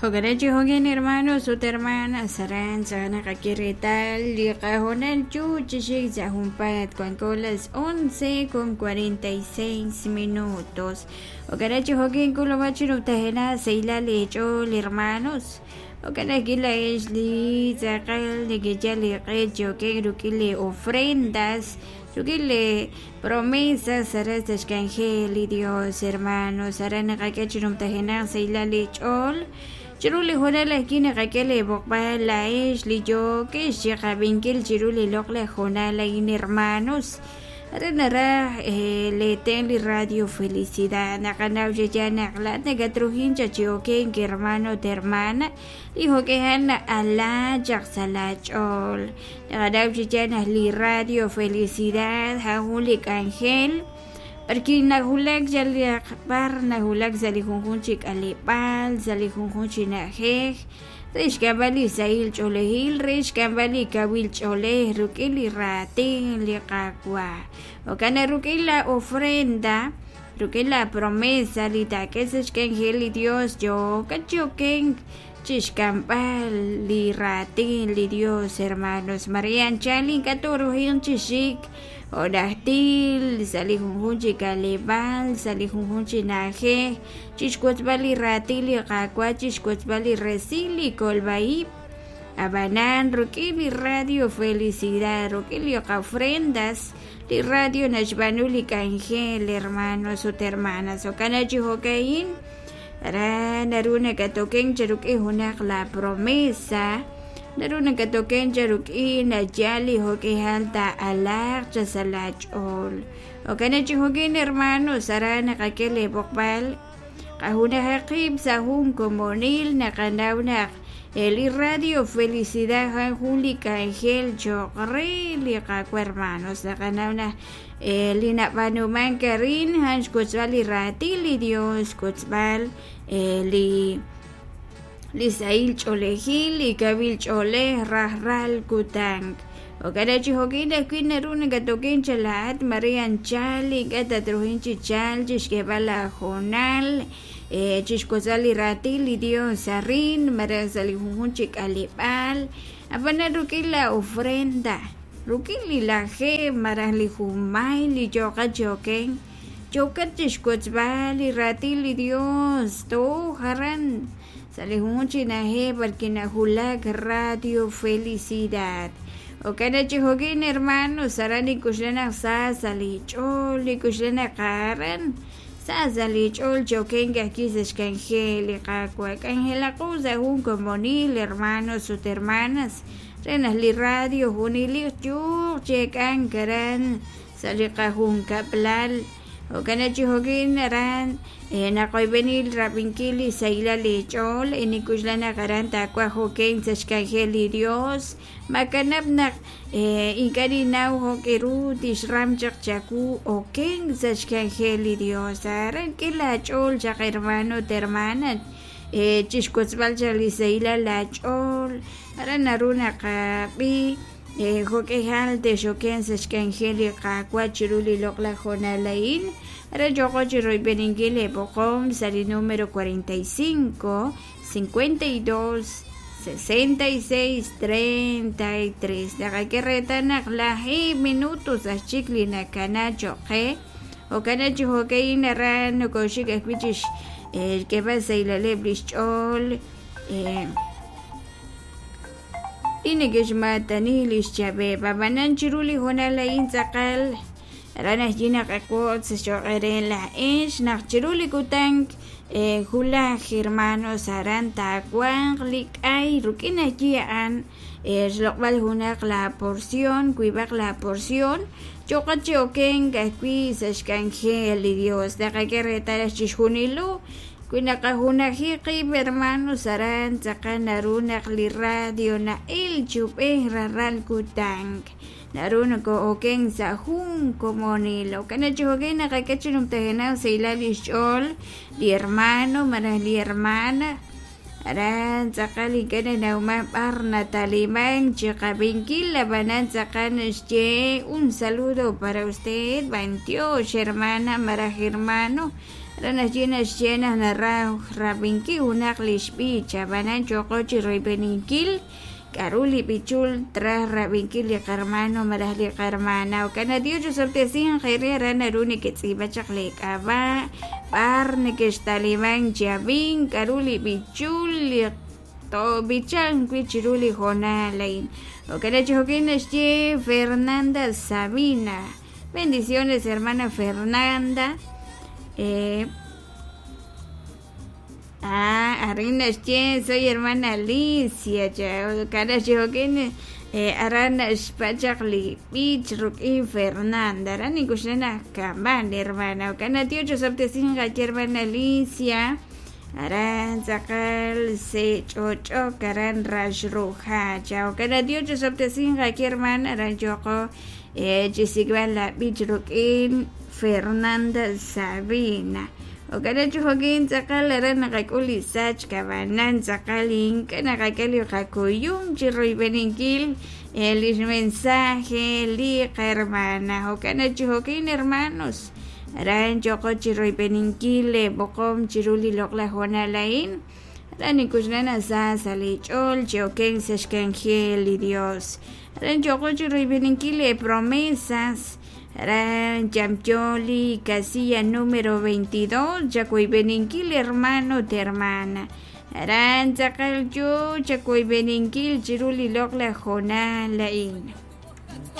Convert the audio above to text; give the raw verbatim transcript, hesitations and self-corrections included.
Jo'kan jo'kan hermanos ut hermanas aran naqak'e reetal li qahonal yu chi xik sa' junpaat wanko las once con cuarenta y seis minutos. Jo'kan chi jo'kan k'ulub'aj chi numtajenaq sahilal eech'ool hermanos. Jo'kan ajwi' la'ex li tz'aqal nekeyal eeq'e choken rik'in li ofrendas, rik'in li promesas aran sa' xk'anjel li Dios hermanos. Aran naqak'e chi numtajenaq sahilal eech'ool. Chiru li honal ajwi' naqak'e li b'oqb'al la'ex li yo'kex chiqab'inkil chiru li loq'laj honal a'in hermanos. Aran naraj leeten li Radio Felicidad naqanaw chi yaal naq laa'at nakatrujin cha chi okenk hermano ut hermana li jo'k'ejal na'ala chaq sa' laach'ool. Naqanaw chi yaal naq li Radio Felicidad a'an jun li k'anjel porque najulak yal bar najulak sa' li junjun chi k'aleb'aal sa' li junjun chi na'ajej re xk'amb'al li sahil ch'oolejil re xk'amb'al li kawil ch'oolej rik'in li raatin li Qaawa'. Jo'kan naq rik'in la ofrenda rik'in la promesa li taak'e sa' xk'anjel li Dios yo'kat chi okenk chi xk'amb'al li raatin li Dios hermanos. Maria anchal ink'a' toorujin chi xik onajtil sa' li junjun chi k'aleb'aal sa' li junjun chi na'ajej chi xwotzb'al li raatin li Qaawa' chi xwotzb'al li resil li kolb'aib'. Ab'anan rik'in li Radio Felicidad rik'in li qofrendas li radio naxb'aanu li k'anjel hermanos ut hermanas. Jo'kan chi jo'ka'in aran naru nakatoken chi rik'in junaq la promesa naru nakatoken chi rik'in ayal li jo'k'ejal ta'alaq cha sa' laach'ool. Jo'kan chi jo'kin hermanos aran naqak'e li b'oqb'al qajunajaq qib' sa' jun komonil naqanaw naq li Radio Felicidad a'an jun li k'anjel cho'q re li Qaawa' hermanos. Naqanaw naq li nab'aanuman arin a'an xwotzb'al li raatin li Dios xwotzb'al li li sahil ch'oolejil li kawil ch'oolej rajlal kutan. Jo'kan chi jo'kin ajwi' naru nakatoken cha laa'at Maria anchal ink'a' tatrujin chi chal chi xk'eeb'al laahonal chi xwotzb'al li raatin li Dios arin mara sa' li junjun chi k'aleb'aal ab'anan rik'in la ofrenda rik'in li lajeeb' maraj li junmay li yo'qat chi oken yo'kat chi xwotzb'al li raatin li Dios toj aran sa' li junjun chi na'ajej porque najulak Radio Felicidad. Jo'kan chi jo'kin hermanos aran nikuxlanaq sa sa' li ch'ool nikuxlanaq aran sa sa' li ch'ool chokenk ajwi' sa' xk'anjel li Qaawa' k'anjelaqu sa' jun komonil hermanos ut hermanas re naq li radio juniliq yuuq cheek'ank aran sa' li qajunkab'lal. Jo'kan chi jo'kin aran naqoyb'enil rab'inkil li sahilal eech'ool nikuxlanaq aran taawa' jo'ken sa' xk'anjel li Dios makanab' naq ink'a' ninnaw jo'k'e ru tixram chaq chawu okenk sa' xk'anjel li Dios. Aran k'e laach'ool chaq hermano ut hermana chi xwotzb'al chaq li sahilal laach'ool aran naru naqab'i jo'k'ejal texoken sa' xk'anjel li Qaawa' chiru li loq'laj honal a'in. Aran yo'qo chi royb'eninkil li b'oqom sa' li número cuarenta y cinco, cincuenta y dos, sesenta y seis, treinta y tres. Naqak'e reetal naq lajeeb' minutos aj chik li nakana cho'q qe. Jo'kan chi jo'ka'in aran nokoxik ajwi' chi xk'eeb'al sahilaleb' li xch'ool li neke'xmaatani li xchab'eb'. Ab'anan chiru li honal a'in tz'aqal aran ajwi' naqawotz cho'q re la'ex naq chiru li kutan julaj hermanos aran taawanq li k'ay rik'in ajwi' a'an xloq'b'al junaq la porción wiib'aq la porción yo'qat chi okenk ajwi' sa' xk'anjel li Dios. Naqak'e reetal chixjunilu wi naqajunaji qib' hermanos aran tz'aqal naru naq li radio na'el chi ub'ej rajlal kutan naru noko'oken sa' jun komonil. Jo'kan chi jo'kan naqak'e chi numtajenaq sahilal li xch'ool li hermano malaj li hermana aran tz'aqal ink'a' nanawman b'ar nataliman chi qab'inkil ab'anan tz'aqal naxye un saludo para usted bantiox hermana malaj hermano Aran naxye naxye naq naraj rab'inkil junaq li xb'ich ab'anan yooqo chi royb'eninkil k'a'ru li b'ichul traj rab'inkil li qarmano malaj li qarmana. Jo'kan naq Dios chusob'tesinq eere aran naru neketz'iib'a chaq leek'ab'a' b'ar nekextaliman chi ab'ink k'a'ru li b'ichul li toob'ichanq wi' chiru li hoonal a'in. Jo'kan naq chi jo'kan naxye Fernanda Sabina. Bendiciones, hermana Fernanda. Eh, ah, arin naxye soy hermana Alicia jo'kan naq chi jo'kan eh, aran naxpachaq li b'ich ruk'in Fernanda aran nink'uxlan naq kamb'an hermana. Jo'kan naq Dios chusob'tesinq hermana Alicia aran tz'aqal se ch'och'ok aran raxruja jo'kan naq Dios chusob'tesinq hermana aran yooqo eh, chisikb'al la b'ich ruk'in Fernanda Sabina. Jo'kan naq chi jo'kan tz'aqal aran naqak'ul li sachk ab'anan tz'aqal ink'a' naqak'e li qakuyum chi royb'eninkil eh, lix mensaje li qarmana. Jo'kan naq chi jo'kan hermanos aran yooqo chi royb'eninkil b'oqom chiru li loq'laj hoonal a'in aran nik'uxlan sa sa' li ch'ool chi oken sa' xk'anjel li Dios. Aran yooqo chi royb'eninkil li promesas aran yamyoli casilla número veintidós chakoyb'eninkil hermano ut hermana. Aran tz'aqal yo chakoyb'eninkil chiru li loq'laj hoonal a'in.